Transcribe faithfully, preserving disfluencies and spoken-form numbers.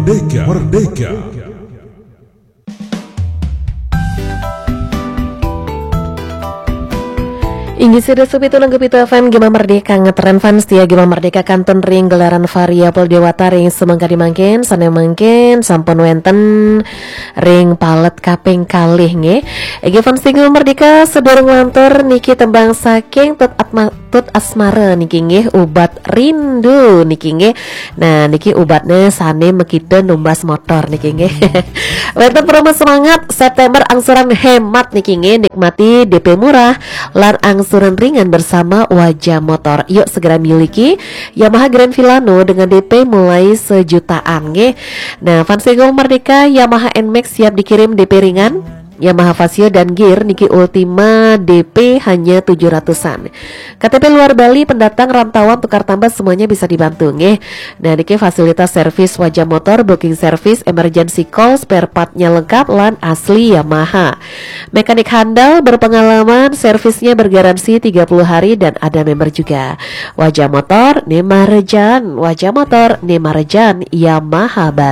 Merdeka, Merdeka. Inggih sida supitu nang pitu F M Gema Merdeka, ngetren fans setia Gema Merdeka kantun ring gelaran variabel Dewata ring semengkadi mangkin, sane mangkin sampun wenten ring palet kaping kalih nggih. Inggih fans Gema Merdeka, sedurung lantur niki tembang saking Tut Atma, Tut Asmara niki nggih, Ubat Rindu niki nggih. Nah, niki ubatne sane makita numbas motor niki nggih. Wenten promo semangat September angsuran hemat niki nggih, nikmati D P murah lan angsuran ringan bersama Wajah Motor. Yuk segera miliki Yamaha Grand Filano dengan D P mulai sejutaan nggih. Nah, fans Gema Merdeka, Yamaha Nmax siap dikirim D P ringan. Yamaha Fazzio dan Gear niki Ultima D P hanya tujuh ratusan. K T P luar Bali, pendatang, rantauan, tukar tambah, semuanya bisa dibantu nggih. Nah, niki fasilitas servis Wajah Motor, booking service, emergency call, spare part-nya lengkap lan asli Yamaha. Mekanik handal, berpengalaman, servisnya bergaransi tiga puluh hari dan ada member juga. Wajah Motor, ne marejan, Wajah Motor, ne marejan, Yamaha Bali.